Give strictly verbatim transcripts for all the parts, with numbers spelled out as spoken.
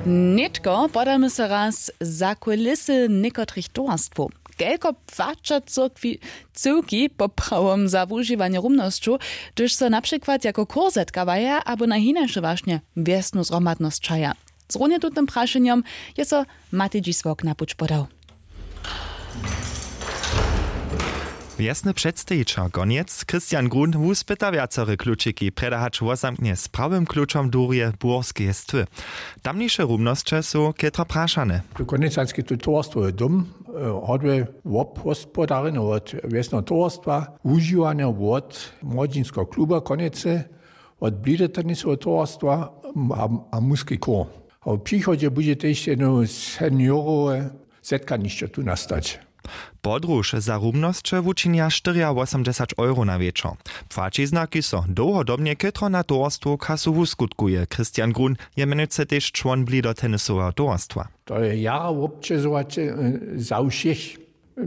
Nětko podamy so raz za kulisy někotrych towarstwow. Kelko płaća cyrkwi, cyłki poprawom za wužiwanje rumnosćow, hdyž so na přikład jako chór zetkawaja abo na hinaše wašnje wjesnu zhromadnosć čaja? Zrunje tutym prašenjom je so Matej Dźisławk na puć podał. Wjesny předstejićel konjec Christian Grun wuspyta wjacore klučiki, prjedy hač wozamknje z prawym klučom durje burskeje stwy. Tamniše rumnosće su chětro prašane. Tu konjecanski tu towarstwowy dom hodłe wobhospodarjene wot wjesneho towarstwa, wužiwanje wot młodźinskeho kluba konjece, wot blidotennisoweho towarstwa a muski chór. A w přichodźe budźe tež jedno seniorowe zetkanišće tu nastać. Podruž za rumnosće wučinja štyriawosomdźesać euro na wječor. Płaćizna, kiž so dołhodobnje chětro na towarstwu kasu wuskutkuje. Christian Grun je mjenujcy tež čłon blidotennisoweho towarstwa. To je jara wobćežowaće za wšěch.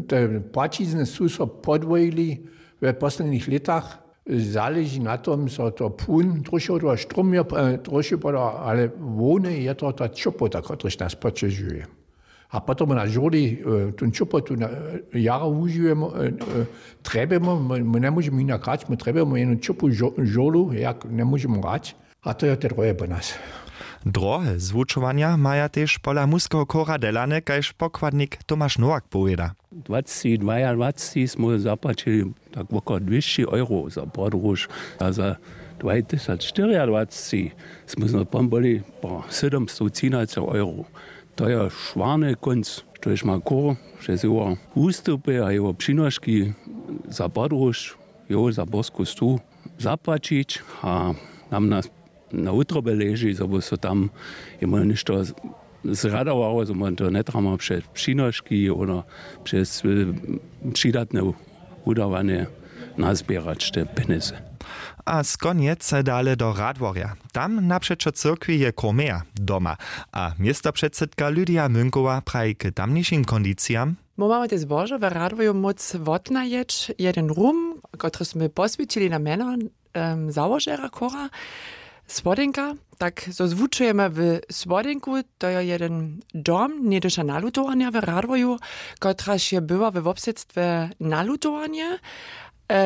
Te płaćizny su so podwojili we poslednich lětach. Zaleži na tom zo to płón trošow to štrumjo trošow poda, ale hłowne je to ta ćopota, kotryž nas poćežuje. A potom na žurli tón ćopotu jara wužiwjemo. Trjebjemo, my njemóžemy hinak hrać, my trjebjemo jednu ćopu žurlu, jak njemóžemy hrać. A to je te drohe po nas. Drohe zwučowanja maja tež pola muskeho chóra delane, kaž pokładnik Tomaš Nowak powěda. Dwacci dwajadwacci smy zapłaćili tak wokoło dwěsći euro za podróž, a za dwajtysac štyriadwacci smy znowu byli po sydomstowtřinaceho euro. To je šwarny kónc, štož ma chór přez jeho wustupy a jeho přinoški za podróž, jeho za borsku stu zapłaćić. A nam na na wutrobje leži, zo by so tam jemu něšto zradowało, zo my to njetrjebamy přez přinoški abo přez přidatne wudawanje nazběrać te pjenjezy. A z konjec dale do Radworja. Tam napřećo cyrkwi je chór meja doma. A městopředsydka Lydia Mynkowa praji k tamnišim kondicijam. My mamy te zbožo we Radworju móc wotnajeć jeden rum, kotry smy poswjećili na mjeno załožerja chóra Słodźenka. Tak zo zwučujemy w Słodźenku, to je jeden dom, něhdyša nalutowarnja w Radworju, kotraž je była we wobsydstwje nalutowarnje.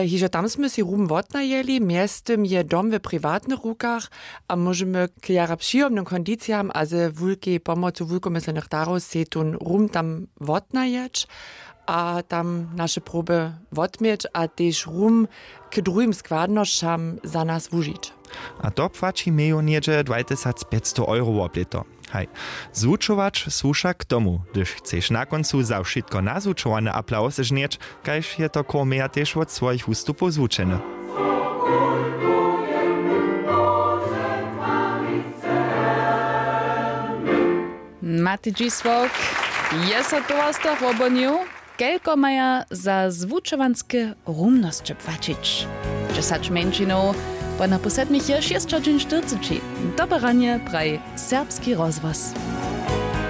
Hižo tam smy sej rum wotnajeli, mjeztym je dom w priwatnych rukach a móžemy k jara přijomnym kondicijam a ze wulkej pomocu wulkomyslenych darow sej tón rum tam wotnajeć a tam naše proby wotměć a tež rum k druhim składnosćam za nas wužić. A to płaći meju něhdźe dwajtysacpjećstow euro woblěto. Haj. Zwučować su wšak k tomu, hdyž chceš na kóncu za wšitko nazwučowany aplaws žnjeć, kaž je to chór meja tež wot swojich wustupow zwučeny. Matej Dźisławk je so towarstwa wobhonił. Kelko maja za zwučowanske rumnosće płaćić? Dźesać mjeńšinow, po napoł sedmich je šěsćadźeń štyrceći. Dobre ranje praji Serbski rozhłos.